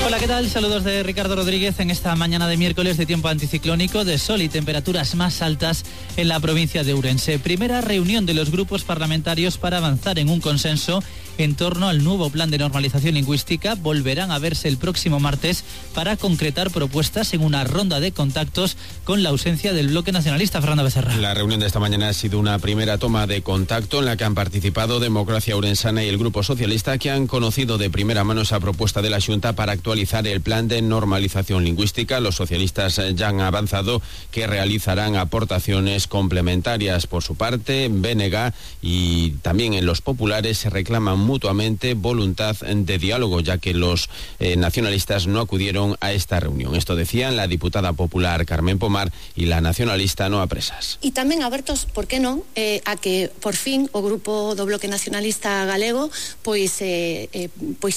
Hola, ¿qué tal? Saludos de Ricardo Rodríguez en esta mañana de miércoles de tiempo anticiclónico, de sol y temperaturas más altas en la provincia de Ourense. Primera reunión de los grupos parlamentarios para avanzar en un consenso en torno al nuevo plan de normalización lingüística. Volverán a verse el próximo martes para concretar propuestas en una ronda de contactos con la ausencia del bloque nacionalista. Fernando Becerra. La reunión de esta mañana ha sido una primera toma de contacto en la que han participado Democracia Ourensana y el Grupo Socialista, que han conocido de primera mano esa propuesta de la Xunta para actualizar el plan de normalización lingüística. Los socialistas ya han avanzado que realizarán aportaciones complementarias. Por su parte, BNG y también en los populares se reclaman mutuamente voluntad de diálogo, ya que los nacionalistas no acudieron a esta reunión. Esto decían la diputada popular Carmen Pomar y la nacionalista Noa Presas. E tamén abertos, por que non, a que por fin o grupo do Bloque Nacionalista Galego pois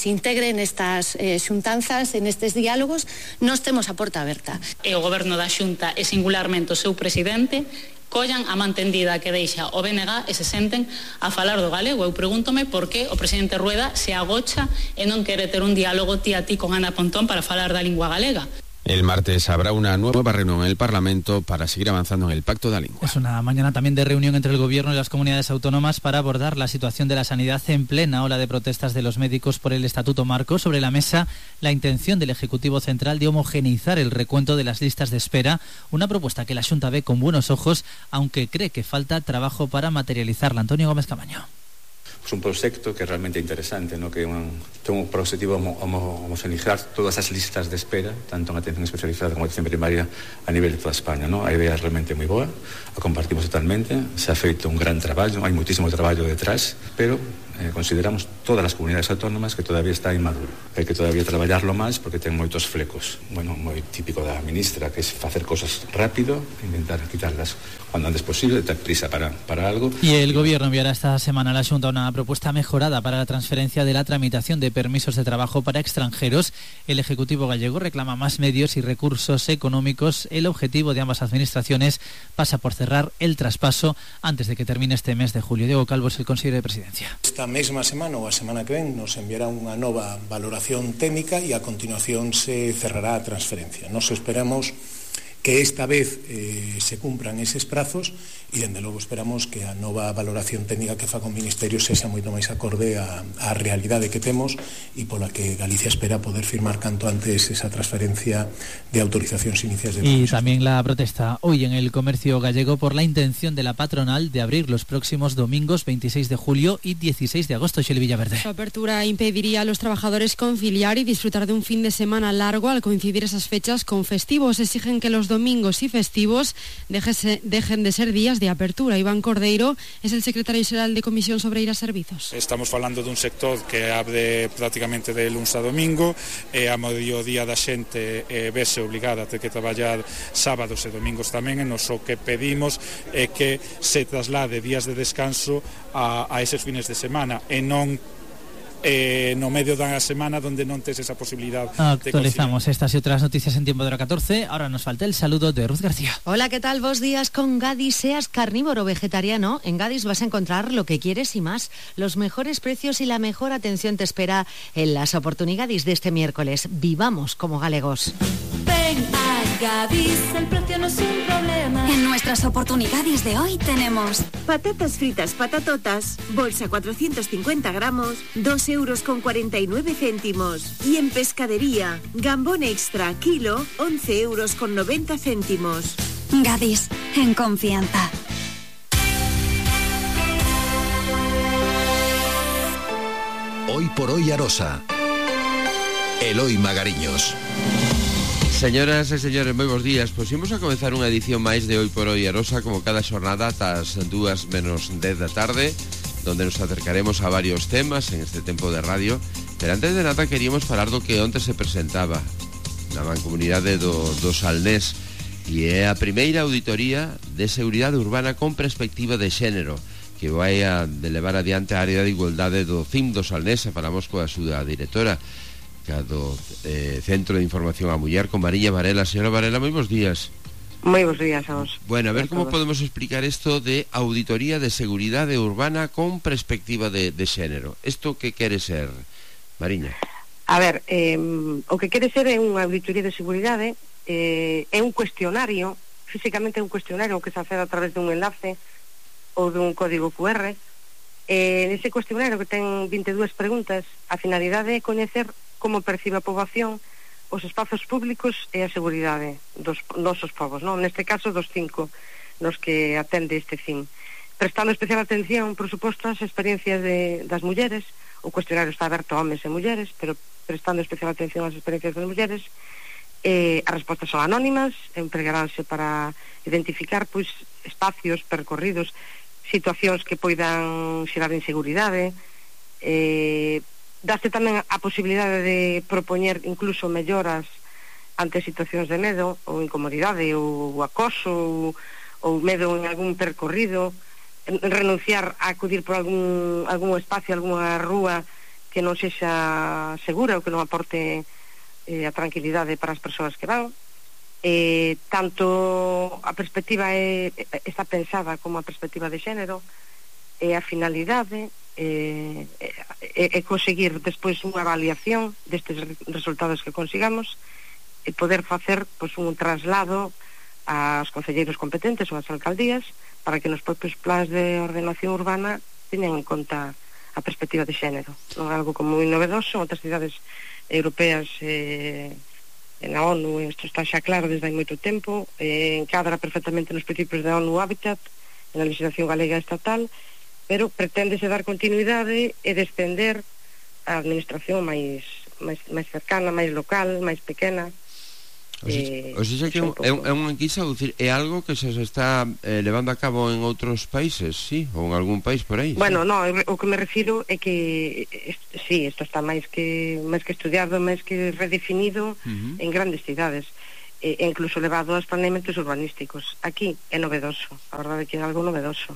integre nestas xuntanzas, en estes diálogos. Nós temos a porta aberta. E o goberno da Xunta e singularmente o seu presidente collan a man tendida que deixa o BNG e se senten a falar do galego. Eu pregúntome por que o presidente Rueda se agocha e non quere ter un diálogo tía a ti con Ana Pontón para falar da lingua galega. El martes habrá una nueva reunión en el Parlamento para seguir avanzando en el Pacto de la Lengua. Es una mañana también de reunión entre el Gobierno y las comunidades autónomas para abordar la situación de la sanidad en plena ola de protestas de los médicos por el Estatuto Marco. Sobre la mesa, la intención del Ejecutivo Central de homogeneizar el recuento de las listas de espera, una propuesta que la Xunta ve con buenos ojos, aunque cree que falta trabajo para materializarla. Antonio Gómez Camaño. Es un proyecto que es realmente interesante, ¿no? Que tengo por objetivo homogeneizar todas las listas de espera, tanto en atención especializada como en atención primaria a nivel de toda España, ¿no? A idea es realmente muy boa, la compartimos totalmente, se ha feito un gran trabajo, hay muchísimo trabajo detrás, pero consideramos todas las comunidades autónomas que todavía está inmaduro. Hay que todavía traballarlo máis porque ten moitos flecos. Bueno, moi típico da ministra, que es facer cosas rápido, intentar quitarlas cuando antes posible, tener prisa para algo. Y el Gobierno enviará esta semana a la Xunta una propuesta mejorada para la transferencia de la tramitación de permisos de trabajo para extranjeros. El Ejecutivo gallego reclama más medios y recursos económicos. El objetivo de ambas administraciones pasa por cerrar el traspaso antes de que termine este mes de julio. Diego Calvo es el consejero de Presidencia. Esta mesma semana ou a semana que ven nos enviará unha nova valoración técnica e a continuación se cerrará a transferencia. Nos esperamos que esta vez se cumpran eses prazos e, dende logo, esperamos que a nova valoración técnica que faga o Ministerio sexa moito máis acorde á realidade que temos e pola que Galicia espera poder firmar canto antes esa transferencia de autorizacións iniciais de permisos. Y también la protesta hoy en el comercio gallego por la intención de la patronal de abrir los próximos domingos 26 de julio y 16 de agosto. Xeli Villaverde. Su apertura impediría a los trabajadores conciliar y disfrutar de un fin de semana largo al coincidir esas fechas con festivos. Exigen que los domingos y festivos dejen de ser días de apertura. Iván Cordeiro es el secretario xeral de Comisión sobre ir a Servizos. Estamos falando dun sector que abre prácticamente de luns a domingo e a mediodía da xente vese obligada a ter que traballar sábados e domingos tamén, e nos o que pedimos é que se traslade días de descanso a eses fines de semana e non no medio da semana donde non tes esa posibilidad. Actualizamos estas y otras noticias en tiempo de hora 14. Ahora nos falta el saludo de Ruth García. Hola, ¿qué tal? Buenos días. Con Gadis, seas carnívoro o vegetariano, en Gadis vas a encontrar lo que quieres y más. Los mejores precios y la mejor atención te espera en las oportunidades de este miércoles. Vivamos como galegos. Ven a Gadis, el precio no es un problema. En nuestras oportunidades de hoy tenemos patatas fritas patatotas, bolsa 450 gramos, 2,49 €. Y en pescadería, gambón extra, kilo, 11,90 €. Gadis, en confianza. Hoy por hoy Arosa. Eloi Magariños. Señoras e señores, moi bons días. Pois imos a comenzar unha edición máis de Hoy por Hoy Arosa, como cada xornada ás 2 menos 10 da tarde, donde nos acercaremos a varios temas en este tempo de radio. Pero antes de nada queríamos falar do que onte se presentaba na mancomunidade do Salnés, e é a primeira auditoría de seguridade urbana con perspectiva de xénero, que vai a levar adiante a área de igualdade do CIM do Salnés. Falamos coa súa directora do Centro de Información á Muller, con Mariña Varela. Señora Varela, moi bons días. Moi bons días a vos. Bueno, a ver como podemos explicar isto de auditoría de seguridade urbana con perspectiva de xénero. Isto que quere ser, Mariña? A ver, o que quere ser é unha auditoría de seguridade, é un cuestionario, físicamente é un cuestionario que se accede a través dun enlace ou dun código QR. Nese cuestionario que ten 22 preguntas, a finalidade é coñecer como percibe a poboación os espazos públicos e a seguridade dos nosos povos, non? Neste caso dos 5 nos que atende este fin, prestando especial atención, por suposto, ás experiencias das mulleres. O cuestionario está aberto a homes e mulleres, pero prestando especial atención ás experiencias das mulleres. As respostas son anónimas, empregaránse para identificar pois espacios, percorridos, situacións que poidan xerar inseguridade. Daste tamén a posibilidade de propoñer incluso melloras ante situacións de medo ou incomodidade ou acoso ou medo en algún percorrido, renunciar a acudir por algún espacio, algunha rúa que non sexa segura ou que non aporte a tranquilidade para as persoas que van. Tanto a perspectiva está pensada como a perspectiva de xénero, e a finalidade é conseguir despois unha avaliación destes resultados que consigamos e poder facer pois, un traslado aos concelleiros competentes ou ás alcaldías para que nos propios plans de ordenación urbana teñan en conta a perspectiva de xénero. Non é algo como moi novedoso, outras cidades europeas na ONU, isto está xa claro desde hai moito tempo, encadra perfectamente nos principios da ONU Habitat, na legislación galega estatal, pero preténdese dar continuidade e descender a administración máis cercana, máis local, máis pequena. O sea que é unha enquisa, é algo que se está levando a cabo en outros países, sí? Ou en algún país por aí? Bueno, no, o que me refiro é que sí, isto está máis que estudiado, máis que redefinido en grandes cidades, e incluso levado aos planeamentos urbanísticos. Aquí é novedoso, a verdade é que é algo novedoso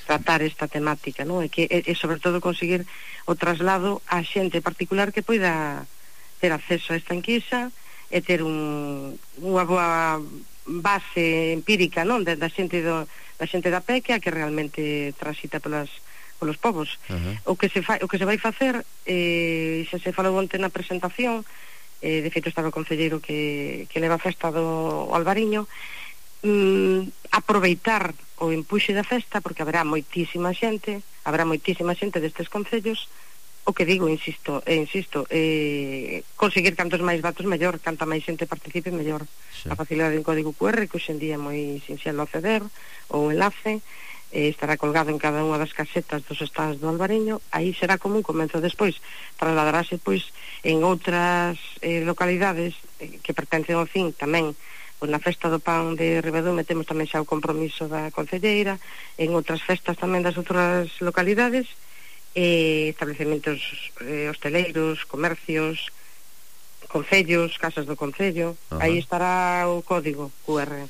tratar esta temática, non? E sobre todo conseguir o traslado a xente particular que poida ter acceso a esta enquisa e ter unha boa base empírica, non, da xente da pé, que é a que realmente transita polos povos. O que se vai facer, xa se falou onte na presentación, de feito estaba o concelleiro que leva a festa do Albariño, aproveitar o empuxe da festa, porque haberá moitísima xente destes concellos. O que digo, insisto, conseguir cantos máis datos mellor, canta máis xente participe mellor. A facilidade de un código QR, que hoxe en día é moi sinxelo acceder, ou un enlace, estará colgado en cada unha das casetas dos stands do Albariño. Aí será como un comenzo. Despois trasladarase pois en outras localidades que pertencen ao fin tamén. Pois na festa do pan de Ribedume temos tamén xa o compromiso da concelleira, en outras festas tamén das outras localidades, establecementos hosteleiros, comercios, concellos, casas do concello. Aí estará o código QR.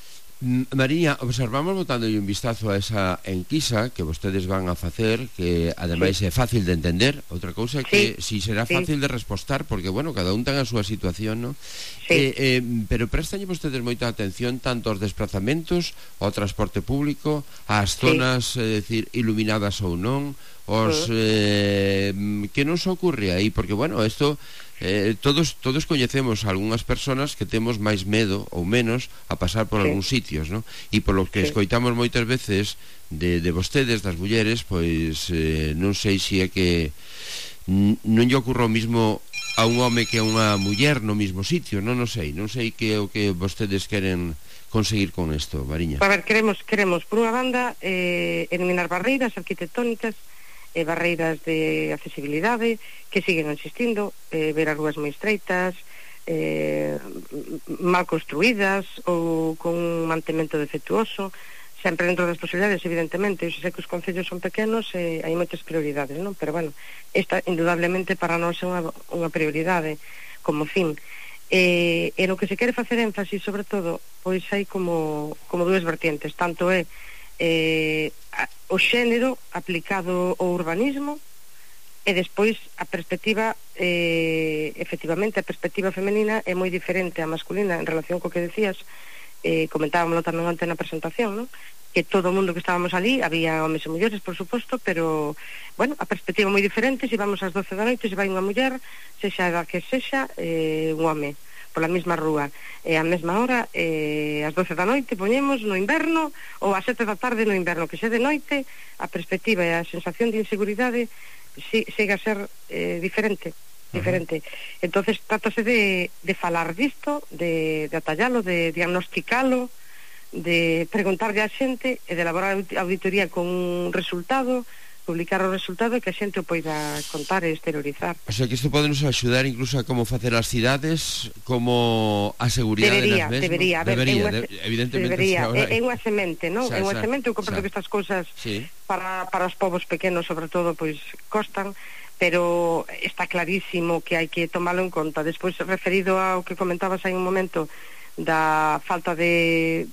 María, observamos botando un vistazo a esa enquisa que vostedes van a facer, que ademais é fácil de entender. Outra cousa é que si será fácil de respostar, porque, bueno, cada un ten a súa situación, non? Pero prestanlle vostedes moita atención tanto aos desplazamentos, ao transporte público, ás zonas, decir, iluminadas ou non, os que nos ocurre aí, porque, bueno, isto todos coñecemos algunhas persoas que temos máis medo ou menos a pasar por algúns sitios, non? E polo que escoitamos moitas veces de vostedes, das mulleres, pois non sei se é que non lle ocurre o mismo a un home que a unha muller no mismo sitio, non sei que é o que vostedes queren conseguir con isto, Mariña. A ver, queremos por unha banda eliminar barreiras arquitectónicas, barreiras de accesibilidade que siguen existindo, ver as rúas moi estreitas, mal construídas ou con un mantemento defectuoso, sempre dentro das posibilidades, evidentemente. Eu sei que os concellos son pequenos e hai moitas prioridades, non? Pero, bueno, esta indudablemente para nós é unha prioridade como fin. E no que se quere facer énfasis, sobre todo, pois hai como dúas vertientes. Tanto é o xénero aplicado ao urbanismo e despois a perspectiva, efectivamente a perspectiva femenina é moi diferente á masculina en relación co que decías, comentábamoslo tamén antes na presentación, non? que todo o mundo que estábamos ali, había homes e mulleres, por suposto, pero, bueno, a perspectiva moi diferente, se vamos ás 12 da noite, se vai unha muller, sexa a que sexa, un home, pola mesma rúa, a mesma hora, ás 12 da noite, poñemos no inverno, ou ás 7 da tarde no inverno, que xe de noite, a perspectiva e a sensación de inseguridade chega a ser diferente. Entonces trátase de falar disto, de atallalo, de diagnosticalo, de preguntarle a xente e de elaborar auditoría con un resultado, publicar o resultado e que a xente o poida contar e exteriorizar. O sea que isto pode nos axudar incluso a como facer as cidades, como a seguridade nas mesmas. Debería, evidentemente. É unha semente, non? É unha semente, eu compreendo que estas cousas para os povos pequenos, sobre todo, pois costan, pero está clarísimo que hai que tomalo en conta. Despois, referido ao que comentabas hai un momento da falta de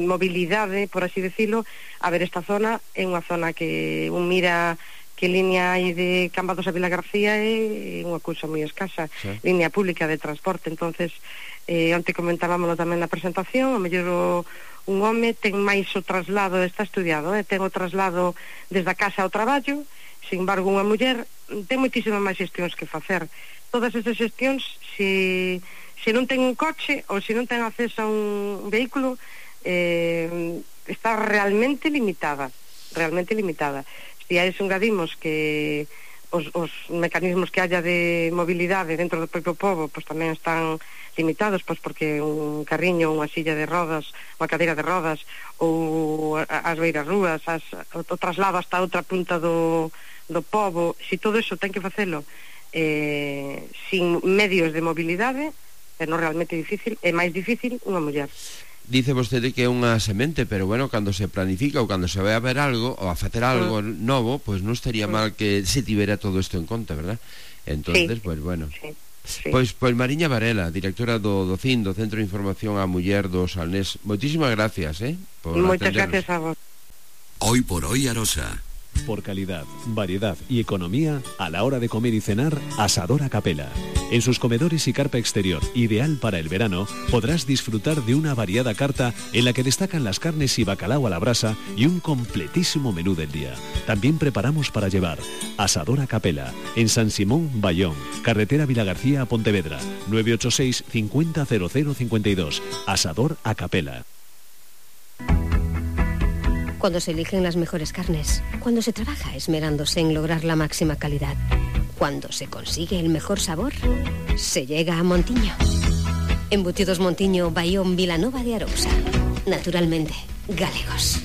mobilidade, por así decirlo, a ver, esta zona é unha zona que un mira que línea hai de Cambados a Vila García é unha cousa moi escasa, línea pública de transporte. Entonces, onte comentábamoslo tamén na presentación, o mellor un home ten máis o traslado, está estudiado, ten o traslado desde a casa ao traballo. Sin embargo, unha muller ten moitísimas máis xestións que facer. Todas esas xestións, se non ten un coche ou se non ten acceso a un vehículo, está realmente limitada. Se a eso engadimos que os mecanismos que haya de mobilidade dentro do propio pobo, pois tamén están limitados, pois porque un carriño, unha silla de rodas, unha cadeira de rodas, ou as beiras rúas, o traslado hasta outra punta do pobo, se todo eso ten que facelo sin medios de mobilidade, é non realmente difícil, é máis difícil unha muller. Dice vostede que é unha semente, pero bueno, cando se planifica ou cando se vai a ver algo ou a facer algo novo, pois non estaría mal que se tivera todo isto en conta, verdad? Entonces, pois bueno. Pois Mariña Varela, directora do CIN, do Centro de Información á Muller do Salnés. Moitísimas gracias, Moitas gracias a vos. Hoy por hoy Arosa. Por calidad, variedad y economía, a la hora de comer y cenar, Asador Acapela. En sus comedores y carpa exterior, ideal para el verano, podrás disfrutar de una variada carta en la que destacan las carnes y bacalao a la brasa y un completísimo menú del día. También preparamos para llevar. Asador Acapela, en San Simón, Bayón, carretera Vilagarcía a Pontevedra, 986 50 0052. Asador Acapela. Cuando se eligen las mejores carnes, cuando se trabaja esmerándose en lograr la máxima calidad, cuando se consigue el mejor sabor, se llega a Montiño. Embutidos Montiño, Bayón, Vilanova de Arousa. Naturalmente, galegos.